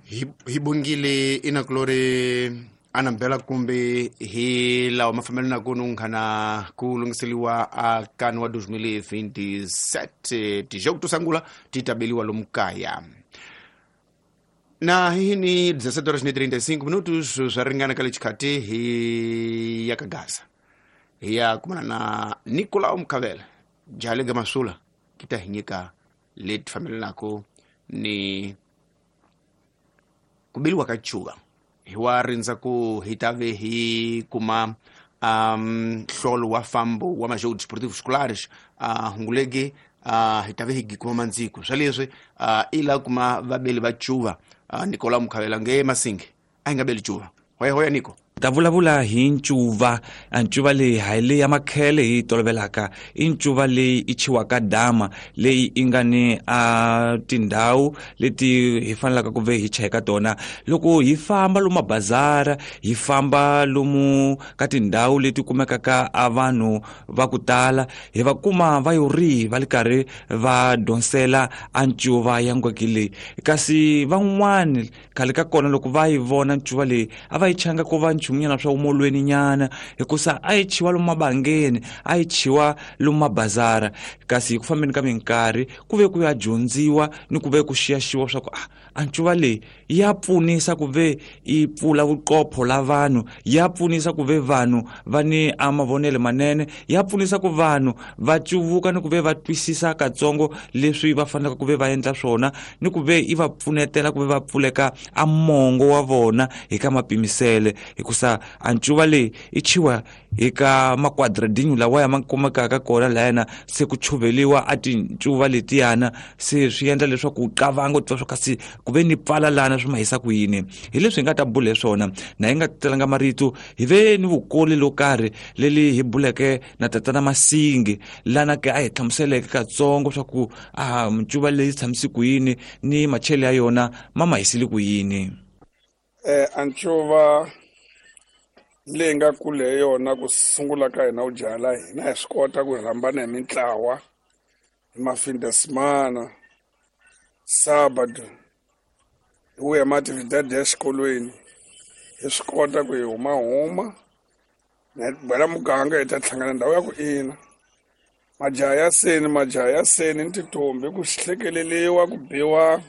Hi bongile inakulori anambela kumbe hi lawa mafambelanaku nunghana ku lunghiseliwa a kani wa 2027 tijogo to sungula ti tabeliwa lomu kaya na hi ni 17 horas ni 35 minutos swa ringana ka le xikhati hi ya ka Gaza hi ya kumana na Nicolau Mkhavela jale ga masula ki ta hi nyika leti fambelanaka ni ku beliwa ka cuva hi wa rindza ku hi ta ve hi kuma nhlolo wa fambo wa majogo desportivos escolares hungulege hi ta ve hi kuma mandziko swa leswi i la kuma vabeli va cuva Nicolau Mkhavela nge Masingi a hi nga beli cuva hoya hoya Nico ta vulavula hi ncuva. Ncuva leyi hayi leyi ya makhele hi tolovelaka, i ncuva leyi i chiwaka dama leyi i nga ni a tindhawu leti hi fanelaka ku ve hi cheka tona loko hi famba lomu mabazara, hi famba lomu ka tindhawu leti kumekaka a vanhu va ku tala, hi va kuma va yo ri va li karhi va donsela a ncuva ya ngweki leyi. Kasi van'wani khale ka kona loko va yi vona ncuva leyi a va yi changa ku va nchumu swa umolweni nyana, hikusa a yi chiwa lomu mabangeni, a yi chiwa lomu mabazara. Kasi hi ku fambeni ka minkarhi ku ve ku ya dyondziwa ni ku ve ku xiyaxiwa swa ku a ncuva leyi ya pfunisa ku ve yi pfula vuqopho la vanhu, ya pfunisa ku ve vanhu va ni a mavonelo manene, ya pfunisa ku vanhu va cuvuka ni ku ve va twisisa katsongo leswi va fanelaka ku ve va endla swona, ni ku ve yi va pfunetela ku ve va pfuleka a mongo wa vona hi ka mapimisele. Hikusa a ncuva leyi i chiwa hi ka makwadradinho lawa ya ma kumekaka kona layana se ku chuveliwa a tincuva letiyana, se swi endla leswaku u qavanga u twa swa kasi ku ve ni pfala lana swi ma hisa ku yini. Hi leswi hi nga ta bula hi swona na hi nga telanga marito, hi ve ni vukoli lo karhi leli hi buleke na tatana Masingi lana ke a hi hlamuseleke katsongo swa ku a ncuva leyi tshamise ku yini ni machele ya yona ma ma hisile ku yini. A ncuva leyi nga kule hi yona ku sungula ka hina u jala hina hi swi kota ku rhambana hi mintlawa hi mafindesemana sábado hi vuya maatividade ya xikolweni, hi swi kota ku hi humahuma na bela muganga hi ta hlangana ndhawu ya ku ina majaha ya seni, majaha ya seni ni tintombi ku hlekeleliwa ku biwa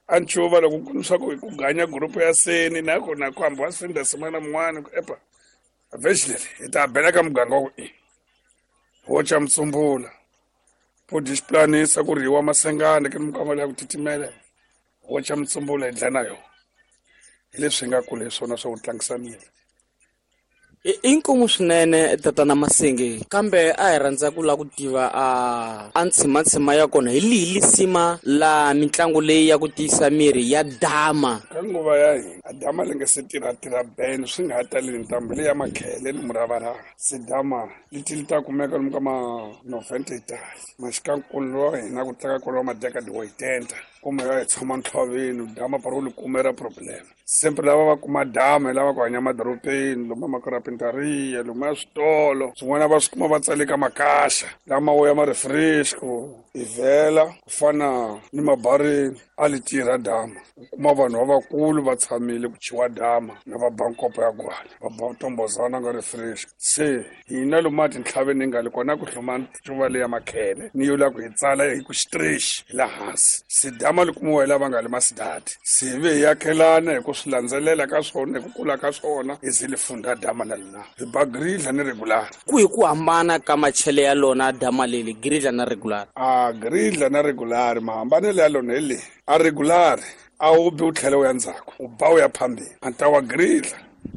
a ncuva loko ku swa ku ku ganya group ya seni na kona ku hambi wa findesemana mun'wana ku epa vhexi leri hi ta bela ka muganga wa ku i wo ca mutsumbula po disiplanisa ku rhiwa masengane ke mukama ya ku titimela wo ca mutsumbula hi dlana yona. Hi leswi hi nga kula hi swona swa ku tlangisa miri. I nkomu swinene tatana Masingi, kambe a hi rhandza ku lava ku tiva a ntshimatshima ya kona hi lihi lisima la mitlangu leyi ya ku tiyisa miri ya dama. Ka nguva ya hina a dama li nga se tirhatirha ben swi nga ha taleli ntambu leyi ya makhele ni muravarava, se dama leti li ta kumeka lomu ka ma 90 itali maxikankulu wa hina ku tlanga kona wa madekadi wa 80 kumbe ya hi tshama ntlhoveni dama paro li kumera problem. Sempre lava va kuma dama hi lava ku hanya madorobeni lomu makarapentaria lomu ya switolo swin'wana va swi kuma va tsale ka makaxa lama wo ya ma refresco i vhela ku fana ni mabarini a li tirha dama. U kuma vanhu lavakulu va tshamile ku chiwa dama na va ba nkopo ya gwala va ba tombozana nga refresco. Se hina lomu a tintlhaveni hi nga le kona ku hloma ncuva leya makhele ni yo la ku hi tsala hi ku xitrexi hi la hansi. Se dama li kumiwa hi lava nga le masidadi, se ve hi yakhelana hi ku swi landzelela ka swona hi ku kula ka swona hi ze li funda dama na lina hi ba gridla ni regular. Ku hi ku hambana ka machele ya lona dama leli gridla na regular? A gridla na regular mahambanelo ya lona hi leyi, a regular a wu bi u tlhela u ya ndzhaku u ba u ya phambeni, a ta wa gridla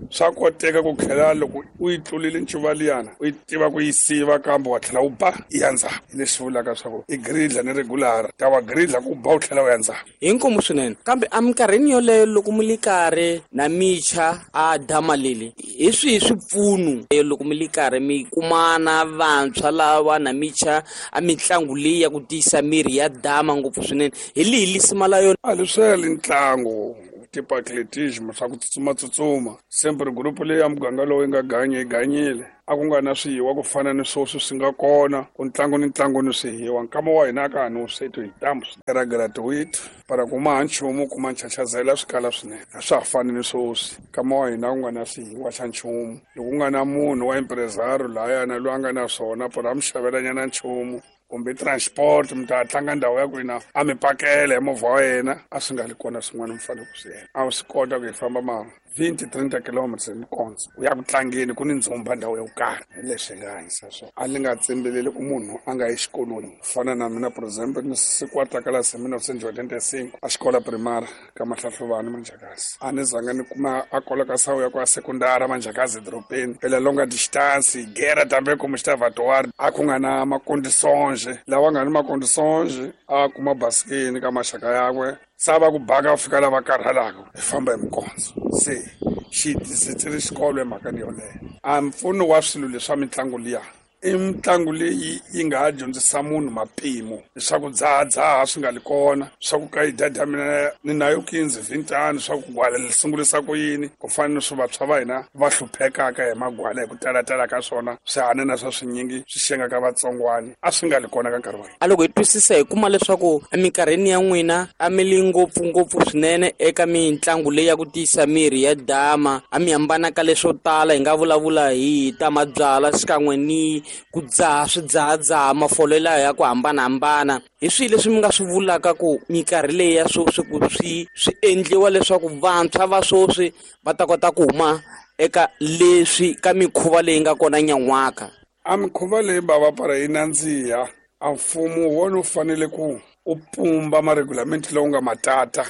swa koteka ku tlhela loko u yi tlulile ncuva liyana u yi tiva ku yi siva kambe wa tlhela u ba i ya ndzhaku. Hi leswi vulaka swa ku i gridla ni regular ta wa gridla ku ba u tlhela u ya ndzhaku. Hi nkomu swinene, kambe eminkarhini yoleyo loko mi li karhi na micha a dama leli hi swihi swipfuno loko mi li karhi mi kumana vantshwa lava na micha a mitlangu leyi ya ku tiyisa miri ya dama ngopfu swinene, hi lihi lisima la yona? A leswi ntlangu tipo atletismo swa ku tsutsumatsutsuma. Sempre gurupu leyi ya muganga lowu yi nga ganya yi ganyile. A ku nga na swihiwa ku fana ni swoswi swi nga kona ku ntlangu ni ntlangu ni swihiwa. Nkama wa hina ka ha ni wusweti hi ntambu era gratuit para kuma ha nchumu kuma nchachazela swi kala swinene. A swa ha fani ni swoswi. Nkama wa hina ku nga na swihiwa xa nchumu. Loko ku nga na munhu wa impresario lahayana loyi a nga na swona para a mi xavelanyana nchumu kumbe transport mi ta tlanga ndhawu ya kwina a mi pakela hi movha wa yena, a swi nga li kona swin'wana mi fanele ku swi endla. A swi kota ku hi famba ma 20-30 kilometers hi mikondzo u ya ku tlangeni ku ni ndzumba ndhawu yo karhi. Hi leswi hi nga hanyisa swona. A ni nga tshembeleli ku munhu a nga yi xikolweni. Ku fana na mina for example ni siku wa takalasi hi 1985 a xikola primary ka Mahlahluvani Manjakazi. A ni zanga ni kuma a colocação ya ku a sekundara Manjakazi edorobeni pela longa distance guerra também como estava atuar a ku nga na macondições lawa nga ni macondições a kuma basikeni ka maxaka yakwe sava ku baka fika lava karhalaka hi famba hi mikondzo. Se xi tisetsele xikolo emhakeni yoleyo. A mpfuno wa swilo leswa mitlangu liya i mitlangu leyi yi nga ha dyondzisa munhu mapimo leswaku dzahadzaha swi nga li kona, swa ku ka yi dada mina ni nayo 15 20 swa ku gwala li sungurisa ku yini, ku fana ni swi vantshwa va hina va hluphekaka hi magwala hi ku talatala ka swona swihanana swa swinyingi swi xengaka vatsongwani a swi nga li kona ka nkarhi wa hina. A loko hi twisisa hi kuma leswaku eminkarhini ya n'wina a mi li ngopfungopfu swinene eka mitlangu leyi ya ku tiyisa miri ya dama, a mi hambana ka leswo tala, hi nga vulavula hi ta mabyalwa xikan'we ni ku dzaha swidzahadzaha mafolo lawa ya ku hambanahambana. Hi swihi leswi mi nga swi vulaka ku minkarhi leyi ya sweswi ku swi endliwa leswaku vantshwa va sweswi va ta kota ku huma eka leswi ka mikhuva leyi nga kona nyan'waka? A mikhuva leyi bava para yi nandziha, a mfumo wona wu fanele ku u pumba maregulamenti lowu nga matata.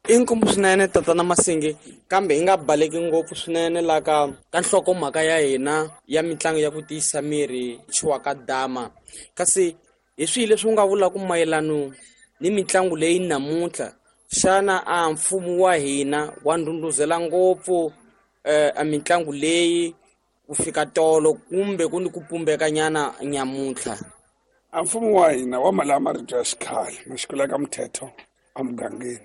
I nkombo swinene tatana Masingi, kambe hi nga baleki ngopfu swinene la ka nhlokomhaka ya hina ya mitlangu ya ku tiyisa miri chiwaka dama. Kasi hi swihi leswi u nga vulaka mayelano ni mitlangu leyi namuntlha? Xana a mfumo wa hina wa ndhundhuzela ngopfu a mitlangu leyi ku fika tolo kumbe ku ni ku pumbekanyana nyamuntlha? A mfumo wa hina wa mali ya marito ya xikhale ma xikolo ka muthetho emugangeni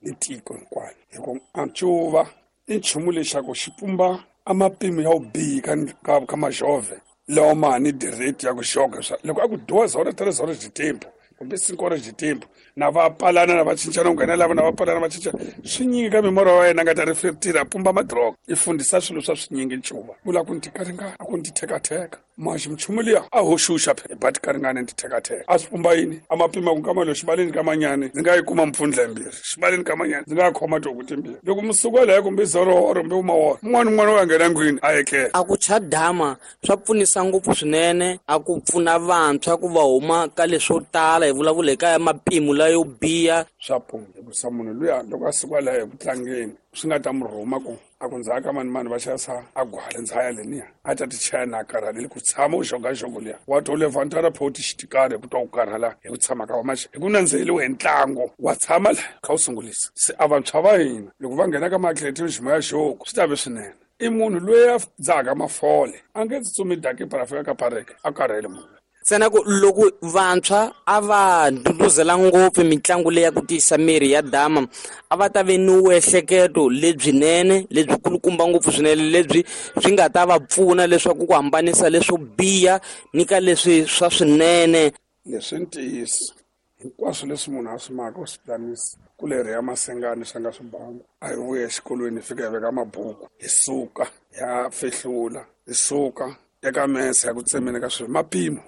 ni tiko hinkwaro, hi ku a ncuva i nchumu lexaku xi pumba a mapimo ya vubihi ka majove lawa ma ni direct ya ku xoga swa loko a ku 2 horas 3 horas de tempo kumbe 5 horas de tempo na va palana na va cincana ku nghena lava na va palana va cinca swi nyingi ka mimorho wa yena nga ta reflectira pumba madroga i fundisa swilo swa swinyingi ncuva vula ku ni tikaringana a ku ni tithekatheka maxi mchumu liya a hoxuxa phela but karingana ni tithekatheka a swi pumba yini a mapima ku nkama lowu xibaleni ka manyani ndzi nga yi kuma mpfundla yimbirhi xibaleni ka manyani ndzi nga khoma tihuku timbirhi loko musuku leyo kumbe zorohoro kumbe umaworo un'wana un'wana wa nghena ndlwini a etlela. A ku cha dama swa pfunisa ngopfu swinene, a ku pfuna vantshwa ku va huma ka leswo tala, hi vulavula hi ka mapimo layo biha. Swa pfuna hikusa munhu luya loko a suka laha eku tlangeni swi nga ta mu rhuma ku a ku ndzhaka mani mani va xavisa a gwala ndzhaya leniya a ta ti chaya na karhaleli ku tshama u xogaxogo liya wa to levantara photi xitikari hi ku twa ku karhala hi ku tshama ka wa maxe hi ku nandziheliwe hi ntlangu wa tshama la kha u sungulisa. Se a vantshwa va hina loko va nghena ka maatletism ya xoko swi ta ve swinene. I munhu loyi a dzahaka mafole a nge tsutsumi daki para fika ka pareke a karhele munhu. Ntsena ku loko vantshwa a va ndhundhuzela ngopfu mitlangu leyi ya ku tiyisa miri ya dama, a va ta ve ni vuehleketo lebyinene lebyi kulukumba ngopfu swinene lebyi swi nga ta va pfuna leswaku ku hambanisa leswo biha ni ka leswi swa swinene. Leswi ntiyiso hinkwaswo leswi munhu a swi maka u swi planisa ku leri ya masengani swi nga swi bangu. A hi vuya exikolweni hi fika hi veka mabuku hi suka ya fehlula hi suka eka mese ya ku tsemeni ka swilo mapimo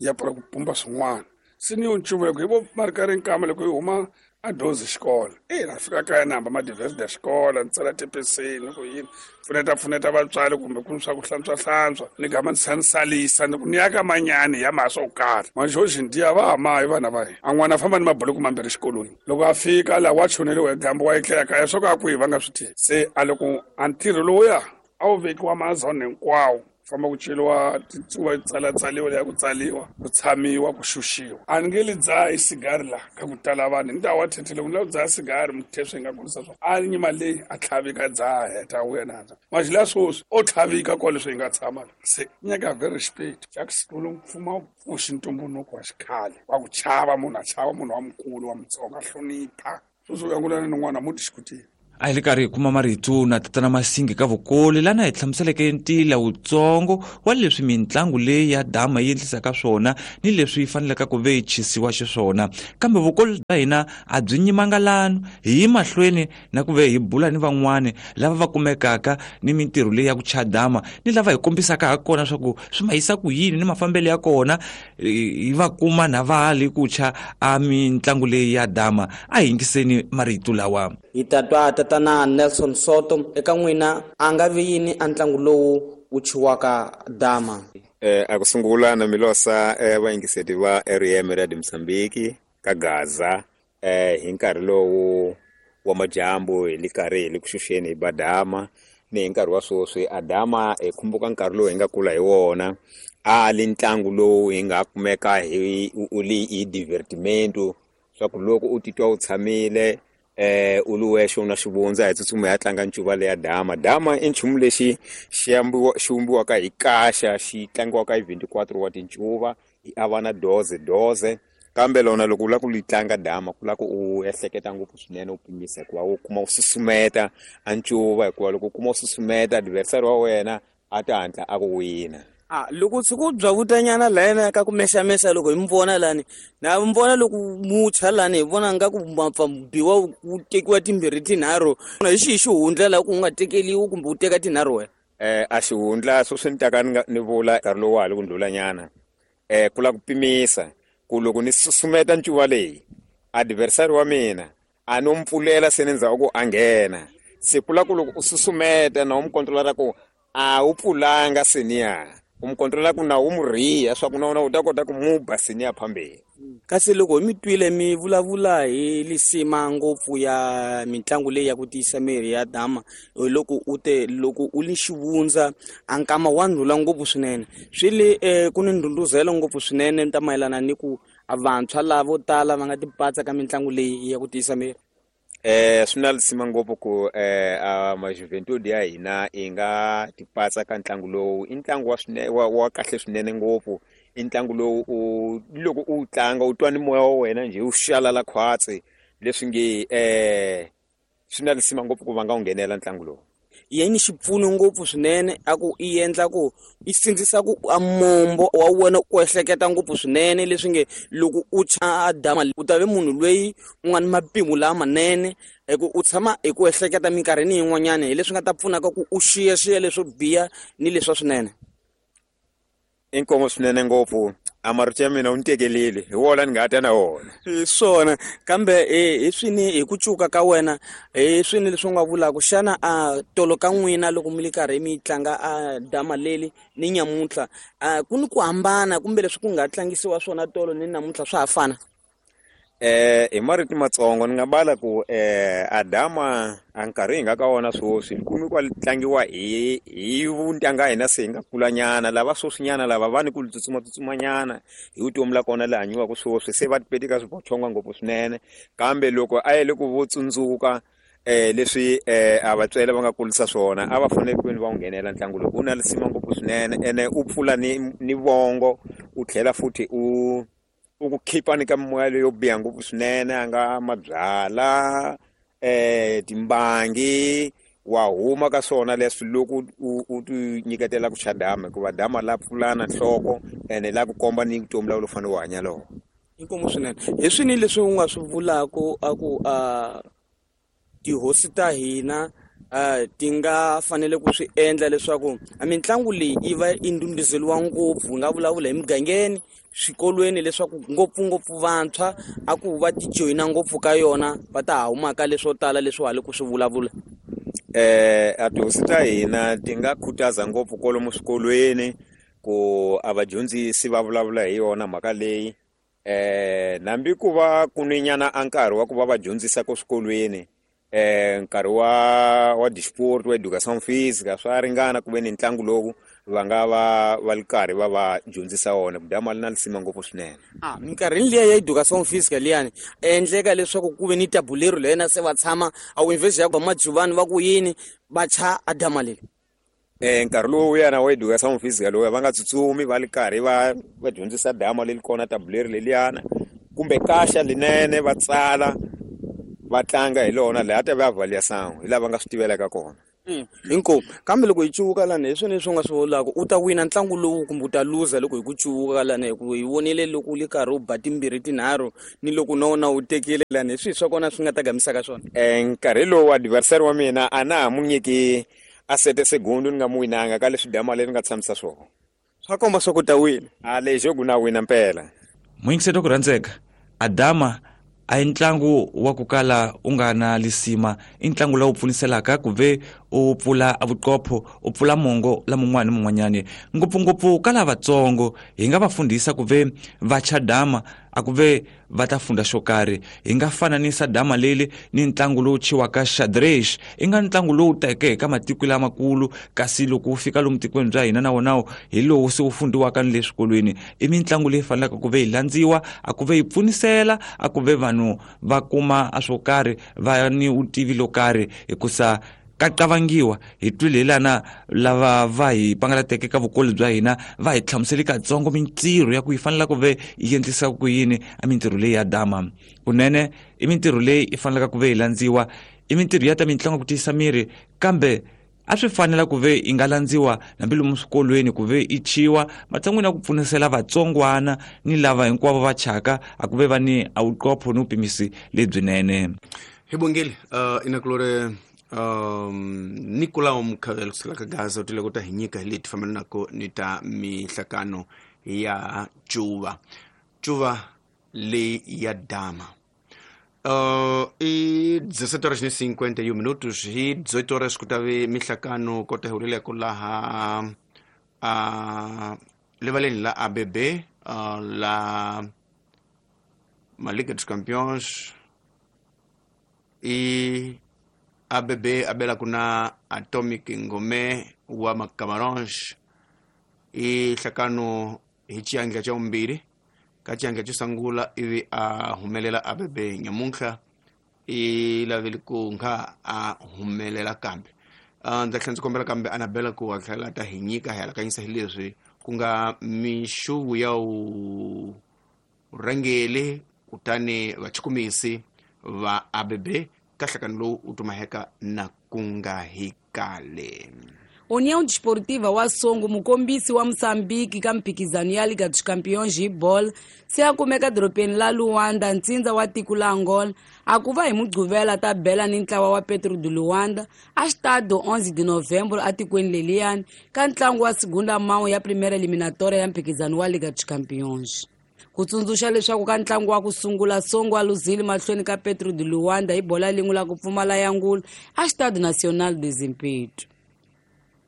ya pfula ku pumba swin'wana. Se ni yo ncuva loko hi vo ma ri karhi nkama loko hi huma a dozi xikolo na fika kaya ni hamba ma-diverse ya xikolo ni tsala tipeseni ku yini pfuneta vatswari kumbe ku swa ku hlantswahlantswa ni gama ni salisa ni ku ni ya ka manyani ya mhaka swo karhi maxoxi ndiya va ha mahi vana va hina. A n'wana a famba ni mabuloku mambirhi xikolweni loko a fika laha wa choneliwa hi dyambu wa etlela kaya swo ka a kwihi va nga swi tivi. Se a loko a ntirho lowuya a wu vekiwa mazone hinkwawo famba ku ceriwa titsuva tsalatsaliwa leya ku tsaliwa ku tshamiwa ku xuxiwa. A ni nge li dzaha sigari laha ka ku tala vanhu ni ta wa thethele ku ni lava ku dzaha sigari muthe swi nga kurisa swona a nyima leyi a tlhavika dzaha heta wuya na maxi la swoswi o tlhavika kwale swi hi nga tshama la. Se nyaka very respect xa ku sikulu mfumo pfuxi ntumbuluko wa xikhale wa ku chava munhu a chava munhu wa mukulu wa mutsonga hlonipha sweswi u yangulana ni n'wana muti xikutini. A hi le karhi hi kuma marito na Tatana Masingi ka Vukoli lana hi hlamuseleke ntila wutsongo wa leswi mitlangu leyi ya dama yi endlisaka swona ni leswi yi faneleke ku ve yi chisiwa xiswona. Kambe vukoli bya hina a byi nyimanga lano, hi yi mahlweni na ku ve hi bula ni van'wani lava va kumekaka ni mintirho leyi ya ku cha dama ni lava hi kombisaka ha kona swa ku swi ma yisa ku yini ni mafambelo ya kona, hi va kuma na va li ku cha a mitlangu leyi ya dama. A hi yingiseni marito lawa. Hi ta twa Tatana Nelson Soto eka n'wina a nga vi yini a ntlangu lowu wu chiwaka dama. A ku sungula na milosa vayingiseti va RM Radio Mozambique ka Gaza hi nkarhi lowu wa majambu hi le karhi hi le ku xuxeni hi badama ni hi nkarhi wa sweswi adama hi khumbuka nkarhi lowu hi nga kula hi wona a li ntlangu lowu hi nga kumeka hi u li hi divertimento swa ku loko u titwa u tshamile u li wexe u na xivundza hi tsutsuma ya tlanga ncuva leya dama. Dama i nchumu lexi xi vumbiwaka hi kaxa xi tlangiwaka hi 24 wa tincuva hi avana doze doze, kambe lona loko u lava ku li tlanga dama ku lava ku u ehleketa ngopfu swinene u pimisa hikuva u kuma u susumeta a ncuva, hikuva loko u kuma u susumeta adversary wa wena a ta hatla a ku wina. Loko tshuku bya vutanyana lana ka ku mexamexa loko hi mi vona lani na mi vona loko mucha lani hi vona nga ku mapfa biwa wu tekiwa timbirhi tinharhu, hi xihi xihundla laha ku nga tekeliwi kumbe u teka tinharhu wena? A xihundla sweswi ni taka ni vula nkarhi lowu wa ha li ku ndlulanyana ku lava ku pimisa ku loko ni susumeta ncuva leyi adversary wa mina a no mpfulela se ni ndzhaku ku a nghena, se ku lava ku loko u susumeta na u mu kontrola ku a wu pfulanga seniya u mu kontrola ku na wu mu riha swa ku na wona u ta kota ku mu ba seniya phambeni. Kasi loko mi twile mi vulavula hi lisima ngopfu ya mitlangu leyi ya ku tiyisa miri ya dama, loko u te loko u li xivundza a nkama wa ndlula ngopfu swinene swi le ku ni ndhundhuzelo ngopfu swinene ta mayelana ni ku vantshwa lavo tala va nga tipatsa ka mitlangu leyi ya ku tiyisa miri. Swi na lisima ngopfu ku a majuventude ya hina i nga tipatsa ka ntlangu lowu. I ntlangu wa swinene wa kahle swinene ngopfu, i ntlangu lowu u loko u tlanga u twa ni moya wa wena njhe wu xalala khwatsi leswi nge swi na lisima ngopfu ku va nga wu nghenela ntlangu lowu. Yini xipfuno ngopfu swinene a ku i endla ku i sindzisa ku a mombo wa wena ku ehleketa ngopfu swinene leswi nge loko u cha dama u ta ve munhu loyi u nga ni mapimo lamanene hi ku u tshama hi ku ehleketa minkarhini yin'wanyana hi leswi nga ta pfunaka ku u xiyaxiya leswo biha ni leswa swinene. Inkomo swinene ngopfu a marito ya mina u ni tekelile hi wona ni nga ta na wona. Hi swona kambe hi swini hi ku cuka ka wena hi swini leswi u nga vulaka xana a tolo ka n'wina loko mi le karhi mi tlanga a dama leli ni nyamuntlha ku ni ku hambana kumbe leswi ku nga tlangisiwa swona tolo ni namuntlha swa ha fana? Hi marito matsongo ni nga bala ku adama a nkarhi hi nga ka wona sweswi kumi kwa tlangiwa hi vuntanga hina se hi nga kulanyana lava sweswinyana lava va ni ku tsutsuma tsutsumanyana hi vutomi la kona la hanyiwaka sweswi se va tipeti ka swibochonga ngopfu swinene, kambe loko a yele ku vo tsundzuka leswi a vatswele va nga kulisa swona a va fanele ku va wu nghenela ntlangu lowu. U na lisima ngopfu swinene ene u pfula ni vongo u tlhela futhi u ku khipa ni ka mimoya leyo biha ngopfu swinene a nga mabyala timbangi wa huma ka swona leswi loko u ti nyiketela ku cha dama, hikuva dama la pfulana nhloko ene la ku komba ni vutomi la u fanele u hanya lona. Inkomu swinene. Hi swini leswi u nga swi vulaka a ku tihosi ta hina ti nga fanele ku swi endla leswaku mitlangu leyi yi va yi ndhundhuzeriwa ngopfu, hi nga vulavula hi mugangeni, swikolweni leswaku ngopfungopfu vantshwa a ku va ti joyina ngopfu ka yona va ta ha humaka leswo tala leswi ha le ku swi vulavula? A tihosi ta hina ti nga khutaza ngopfu kwalomu swikolweni ku a vadyondzisi va vulavula hi yona mhaka leyi nambi ku va ku ni nyana a nkarhi wa ku va va dyondzisa ko swikolweni nkarhi wa disport wa education physica swa ringana ku ve ni ntlangu lowu va nga va li karhi va va dyondzisa wona ku dama li na lisima ngopfu swinene. Minkarhini liya ya education physica liyani endleka leswaku ku ve ni tabulero leyena se va tshama a university ya majuvani va ku yini va cha a dama leli. Nkarhi lowu yana wa education physica lowu va nga tsutsumi va li karhi va dyondzisa dama leli kona tabulero leliyana kumbe kaxa linene va tsala Va tlanga hi lona laha ta va avaliação hi lava nga swi tivelaka kona. Inkomu. Kambe loko hi cuvuka lani hi swona leswi u nga swi vulaka, u ta wina ntlangu lowu kumbe u ta luza loko hi ku cuvuka lani, hi ku hi vonile loko u le karhi u ba timbirhi tinharhu ni loko na wona u tekile lani, hi swihi swa kona swi nga ta gamisaka swona? Nkarhi lowu adversary wa mina a na ha mu nyiki a sete segundo ni nga mu winanga ka leswi dama leri nga tshamisa swona. Swa komba swa ku ta wina. A lexo ku na wina mpela. Muyingiseti wa ku rhandzeka, Adama a hi ntlangu wa ku kala u nga na lisima, i ntlangu lowu pfuniselaka ku ve u pfula vuqopho, u pfula mongo la mun'wana ni mun'wanyani. Ngopfungopfu ka lavatsongo hi nga va fundhisa ku ve va cha dama a ku ve va ta funda xo karhi. Hi nga fananisa dama leli ni ntlangu lowu chiwaka xadrez, i nga ntlangu lowu teke ka matiko lamakulu, kasi loko wu fika lomu tikweni bya hina na wonawo hi lowu se wu fundiwaka ni le swikolweni. I mitlangu leyi fanelaka ku ve yi landziwa, a ku ve yi pfunisela, a ku ve vanhu va kuma a swo karhi, va ni vutivi lo karhi, hikusa ka qavangiwa. Hi twile hi lana lava va hi pangalateke ka vukoli bya hina va hi hlamuseli katsongo mintirho ya ku yi fanela ku ve yi endlisa ku yini a mintirho leyi ya dama. Kunene i mintirho leyi yi fanelaka ku ve yi landziwa, i mintirho ya ta mitlangu ku tiyisa miri, kambe a swi fanela ku ve yi nga landziwa hambi lomu swikolweni ku ve yi chiwa matshan'wini ya ku pfunisela vatsongwana ni lava hinkwavo va chaka a ku ve va ni a vuqopho ni vupimisi lebyinene. Hi bongile inakulore Nicolau Mkhavelo kusukela ka Gaza u tile ku ta hi nyika hi leti fambelanaka ni ta mihlakano ya cuva cuva leyi ya dama. I 17 horas ni 51 minutos, hi 18 horas ku ta ve mihlakano kota hi huleleko laha rivaleni la ABB la Liga dos Campeões. I ABB abela kuna Atomic Ngome wa Macamarões, i hlakano hi xiandla xa vumbirhi ka xiandla xo sungula ivi a humelela ABB nyamuntlha i lavele ku nga a humelela kambe. Ndza tlhela ndzi kombela kambe Anabela ku a tlhela ta hi nyika hi alakanyisa hi leswi ku nga mixuvu ya vurhangeri kutani vachukumisi va ABB ka nhlakano lowu u tumaheka na ku nga hi kale. União Desportiva wa Songo, mukombisi wa Moçambique ka mphikizano ya Liga dos Campeões hi bolo, se a kumeka dorobeni la Luanda, ntsindza wa tiko la Angola, a ku va hi Mugqivela ta bela ni ntlawa wa Petro de Luanda a Estádio 11 de Novembro atikweni leliyani ka ntlangu wa segunda mão ya primeira eliminatória ya mphikizano wa Liga dos Campeões. Ku tsundzuxa leswaku ka ntlangu wa ku sungula Songo a luzile mahlweni ka Petro de Luanda hi bola lin'we la ku pfumala ya ngulu a Estádio Nacional de Zimpeto.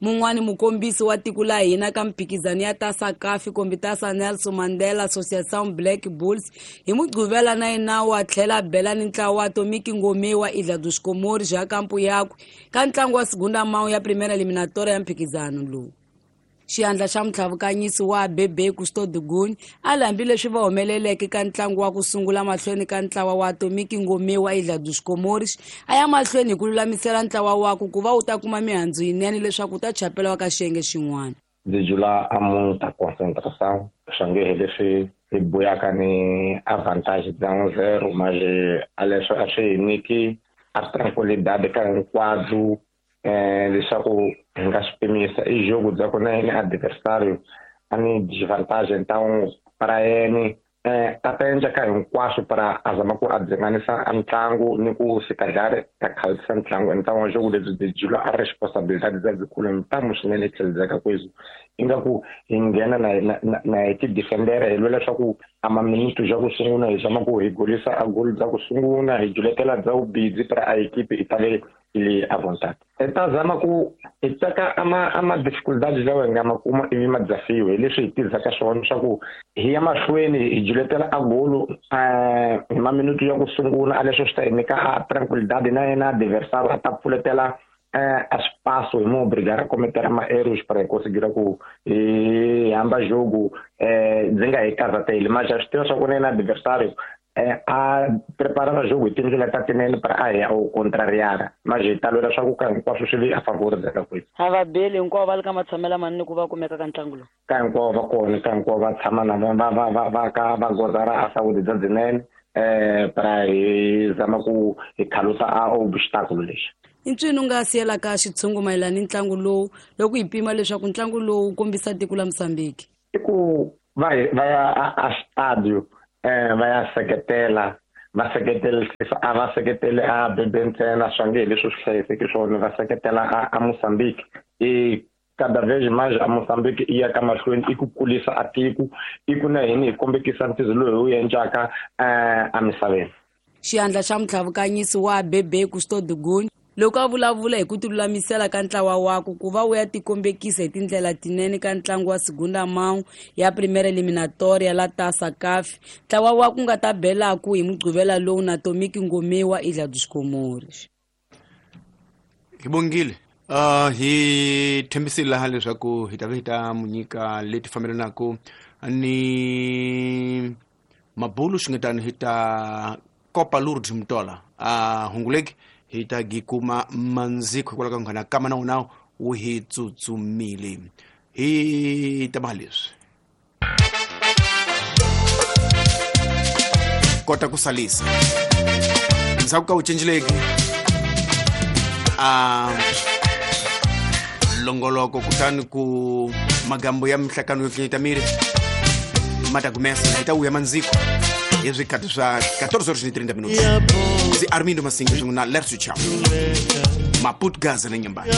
Mun'wani mukombisi wa tiko la hina ka mphikizano ya Taça CAF kumbe Taça Nelson Mandela Associação Black Bulls hi Mugqivela na yena wa tlhela bela ni ntlawa wa Atomic Ngome wa Ilha dos Comores ja kampu yakwe ka ntlangu wa segunda mão ya primeira eliminatória ya mphikizano lowu. Xiandla xa mutlhavukanyisi wa ABB Custódio Guni a hambileswi va humeleleke ka ntlangu wa ku sungula mahlweni ka ntlawa wa Atomic Ngome wa Ilha dos Comores, a ya mahlweni hi ku lulamisela ntlawa wakwe ku va wu ta kuma mihandzu yinene leswaku wu ta chapela ka xiyenge xin'wana. Ndzi jula a muta concentração swa nge he leswi hi buyaka ni avantage bya 1-0 manje a leswi a swi hi nyiki a tranquilidade ka hinkwabyo leswaku hi nga swi pimisa i jogo bya ku na yini adversário a ni desvantagem, então para yena a ta endla ka hinkwaswo para a zama ku a dzinganisa a ntlangu ni ku se calhar ta khalisa ntlangu. Então jogo lebyi byi jula a responsabilidade bya byikulu ntamu swinene tlheledzeka kwezi ingaku hi nghena na hi ti-defendera hi lwela leswaku a maminito bya ku sungula hi zama ku hi golisa a goli bya ku sungula hi juletela bya vubidzi para a equipe i tale ili à vontade. Hi ta zama ku hi teka ama dificuldades lawa hi nga ma kuma ivi ma desafio hi leswi hi tirhisaka swona swa ku hi ya mahlweni hi juletela a golo hi maminito ya ku sungula a leswi swi ta hi nyika a tranquilidade na yena adversário a ta pfuletela a espaço hi mo obrigar a cometer ma erros para conseguir ku hi hamba jogo ndzi nga hi karhateli mas swi tiva swa ku na yena adversário a preparava jogo hi tindlela ta tinene para a ya u contrariara mas hi ta lwela swa ku ka hinkwaswo swi vi a favor bya ka kwethu. A va beli hinkwavo va le ka matshamelo manene ku va kumeka ka ntlangu lowu? Ka hinkwavo va kona, ka hinkwavo va tshama na va va va va ka va gozara a saúde bya byinene. Para hi zama ku hi khalusa a obstáculo lexi. I ncini u nga siyelaka xitshungu mayelana ni ntlangu lowu loko hi pima leswaku ntlangu lowu wu kombisa tiko la Mozambique? I ku va ya a stadio, va ya seketela, va seketela, a va seketele a bebe ntsena, swa nge hi leswi swi hlayiseki swona, va seketela a Mozambique. I cada vez mais a Mozambique i ya ka mahlweni, i ku kulisa a tiko, i ku na hini hi kombekisa ntizo lowu hi wu endlaka emisaveni. Xiyandla xa mutlhavukanyisi wa Bebe Custo Dugun loko a vulavula hi ku tilulamisela ka ntlawa wakwe ku va wu ya tikombekisa hi tindlela tinene ka ntlangu wa Segunda Mão ya Primeira Eliminatória la Taça CAF, ntlawa wa ku nga ta belaku hi Mugqivela lowu na Tomiki Ngomiwa Ilha dos Comores. Hi bongile. Hi tshembisile laha leswaku hi ta va hi ta mu nyika leti fambelanaka ni mabulu xingetani hi ta Copa Lourdes Mtola hunguleki hi ta gi kuma mandziko hikwalaho ka nghana kama na wona wu hi tsutsumile. Hi ta leswi kota ku salisa ndzhaku ka wu cinceleki a longoloko, kutani ku magambo ya mihlakano yo tlanyeta miri ma ta gumesa hi ta wuya mandziko hi swikhathi swa 14:30 minutos. Ndzi Armindo Masinga swin'we na Lerso Chau Maputo Gaza na Nyambani.